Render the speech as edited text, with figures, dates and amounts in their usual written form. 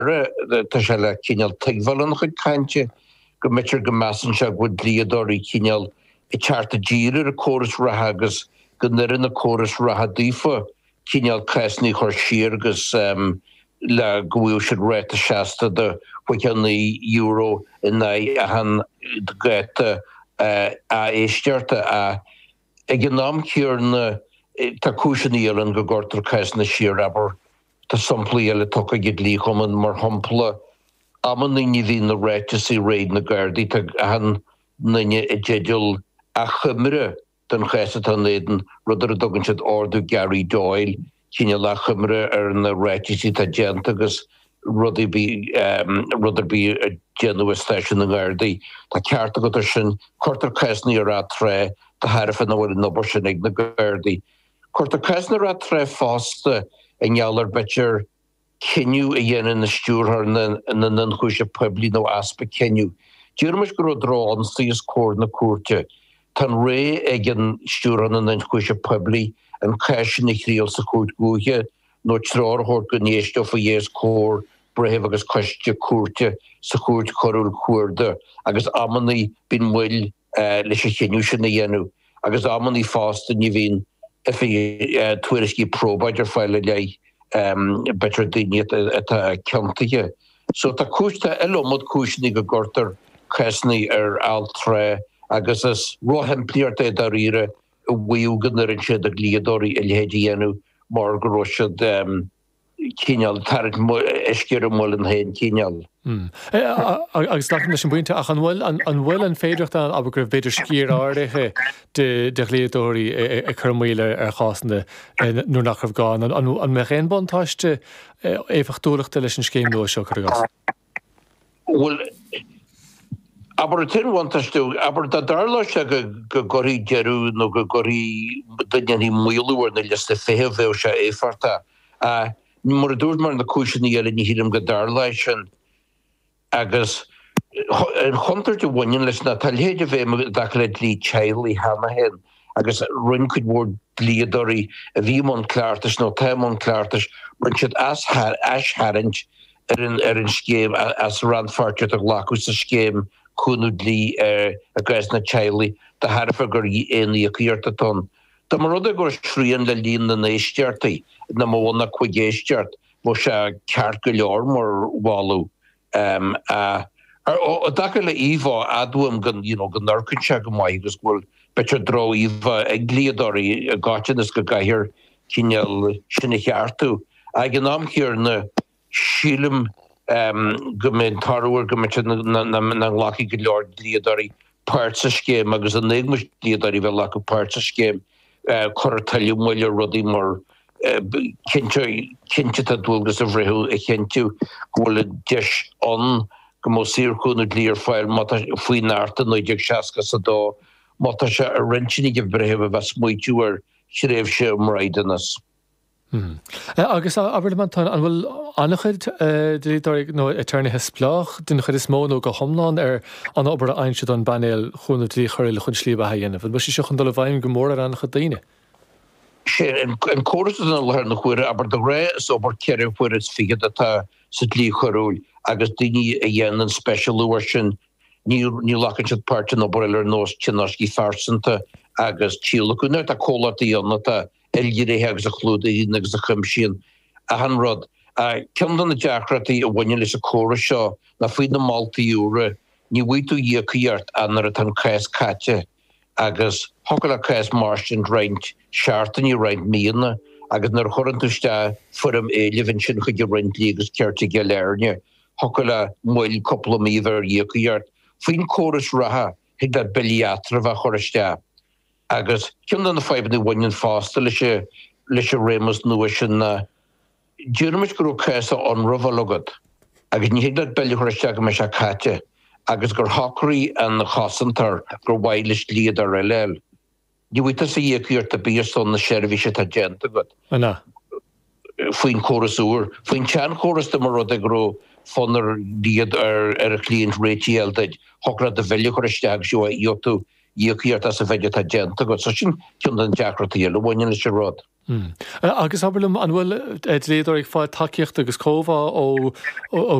Aire, tá sé le cineál tuigbheáil óna chuid cainte go mb'fhéidir go measann sé go bhfuil dlíodóirí cineál ag teacht i dtír ar an córas reatha agus go n-oireann an córas reatha daofa cineál cásanna a chur siar agus le go bhfaigheadh siad ráta seasta de €29 in aghaidh achan dháta éisteachta. Ag an am céanna tá cúiseanna eile ann go gcuirtear cásanna siar, abair tá samplaí eile tugtha ag an Dlí-Chumann, mar shampla amannaí ní bhíonn na ráiteasaí réidh ag na Gardaí, tá achan nduine i dteideal achoimre den chás atá ina éadan, rud ar a dtugann siad Ordú Gary Doyle, cineál achoimre ar na ráitisí atá déanta agus rud ar bith, rud ar bith a déanadh i stáisiún na nGardaí. Tá ceart agat ar sin. Cuirtear cásanna ar atráth de thairbhe nach bhfuil an obair sin ag na Gardaí. Cuirtear cásanna ar atráth fosta i ngeall ar b'fhéidir cinneadh a dhéanann an Stiúrthóir na nIonchúiseamh Poiblí nó easpa cinnidh. Déarfaimis go raibh droch-ionsaí os comhair na cúirte. Tá an rogha ag an Stiúrthóir na nIonchúiseamh Poiblí an cás sin a thriail sa Chúirt Dhúiche nó treoir a thabhairt go n-éisteofaí é os comhair breithimh agus coiste cúirte sa Chúirt Choiriúil Chuarda agus amannaí bíonn moill leis an chinneadh sin a dhéanamh agus amannaí fosta ní bhíonn tuairiscí probáid ar fáil i leith b'fhéidir daoine atá ciontaithe. So tá cúis, tá iliomad cúiseanna go gcuirtear cásanna ar atráth agus is róshimplíocht é dáiríre a mhaíomh go n-oireann sé do dhlíodóirí a leithéid a dhéanamh mar go raibh siad cineál tarraingt uisce ar a muileann féin cineál. Agus glacaim leis an bpointe, ach an bhfuil, an bhfuil an féidearthacht ann, abair, go raibh b'fhéidir sciar áirithe de dhlíodóirí ag cur moill ar chásanna nuair nach raibh gá, an mbeadh aon bhuntáiste éifeachtúlachta leis an scéim nua seo, cuir i gcás? Bhuel, abair, an t-aon bhuntáiste, abair, dá dtarlódh sé go gcuirfí deireadh nó go gcuirfí, go ndéanfaí maolú ar na liostaí feithimh, bheadh sé éifeachtach. Ach mar a dúirt mé ar na cúiseanna eile, ní shílim go dtarlóidh sin. Agus an chontúirt a bhaineann leis ná tá a leithéid i bhfeidhm i dtaca le dlí teaghlaigh cheana féin agus rinne cuid mhór dlíodóirí a bhí i mbun cleachtais nó atá i mbun cleachtais, rinne siad aistharraingt ar an ar an scéim as rannpháirtíocht a ghlacadh sa scéim cúnamh dlí i gcásanna teaghlaigh de thairbhe gur aon íocaíocht atá ann. Dá mba rud é go raibh srian le líon na n-éisteachtaí, nach mó ná 5 éisteacht, bheadh sé ceart go leor mar mholadh. I dtaca le íomhá, admhaím go you know go n-amharcann sé go maith agus go bhfuil b'fhéidir droch-íomhá ag dlíodóirí i gcoitinne is go gcaithfear cineál sin a cheartú. Ag an am chéanna, sílim go mbeidh an toradh air go mb'fhéidir nach nglacfaidh go leor dlíodóirí páirt sa scéim agus in éagmais dlíodóirí bheith ag glacadh páirt sa scéim, cuirfear tuilleadh moille ar rudaí mar cinnte cinnte tá dualgas ar bhreitheamh a chinntiú go bhfuil an deis ann go mbeadh saorchúnamh dlí ar fáil má tá faoin Acht i 1962 má tá sé ar intinn ag an bhreitheamh a bheith ag smaoitiú ar thréimhse um braighdeanas. Agus abair liom, Antoine, an bhfuil an-chuid dlíodóirí nó aturnaetha spleách den chuid is mó nó go hiomlán ar an obair a fhaigheann siad ón bPainéal Chúnamh Dlí Choiriúil chun slí bheatha a dhéanamh? An bhfuil sé seo chun dul i bhfeidhm go mór ar an-chuid daoine? Sé an córas atá i láthair na huaire, abair de ghnáth is obair cheithre huaire is fichead atá sa dlí choiriúil agus daoine a dhéanann speisialú air sin Ní ghlacann siad páirt in obair eile ar nós tionóiscí phearsanta agus tíolacadh. Now tá comhlachtaí ann atá ilghnéitheach agus a chlúdaíonn agus a chuimsíonn achan rud. Ceann de na deacrachtaí a bhaineann leis an córas seo ná faoi na moltaí úra, ní bhfaighidh tú íocaíocht ach nuair atá an cás caite agus thiocfadh le cás mairstin roinnt seachtainí, roinnt míonna agus nuair a chuireann tú isteach foirm éilimh ansin chuig an Roinn Dlí agus Cirt i gCill Airne, Thiocfadh le moill cúpla mí a bheith ar íocaíocht. Faoin córas reatha, thig leat billí eatraimh a chur isteach. Agus ceann de na fadhbanna a bhaineann fosta leis leis an réimeas nua sin ná, déarfaimis go raibh cás á ionramháil agat agus ní thig leat bille a chur isteach go mbeidh sé caite agus gur shocraigh an chosantóir gur mhaith leis dlíodóir eile a fháil. Ní bhfaighidh tusa íocaíocht ar bith ar son na seirbhíse atá déanta agat. An ea? Faoin chóras úr. Faoin tseanchóras dá mba rud é go raibh fonn ar dhliod ar ar an chliant réitigh a fháil duit, thiocfadh leat do bhille a chur isteach agus gheobhaidh tú íocaíocht as an mhéid atá déanta agat. So sin ceann de na deacrachtaí eile a bhaineann leis an rud. Agus abair liom, an bhfuil dlíodóirí ag fáil tacaíocht agus comhbhá ó.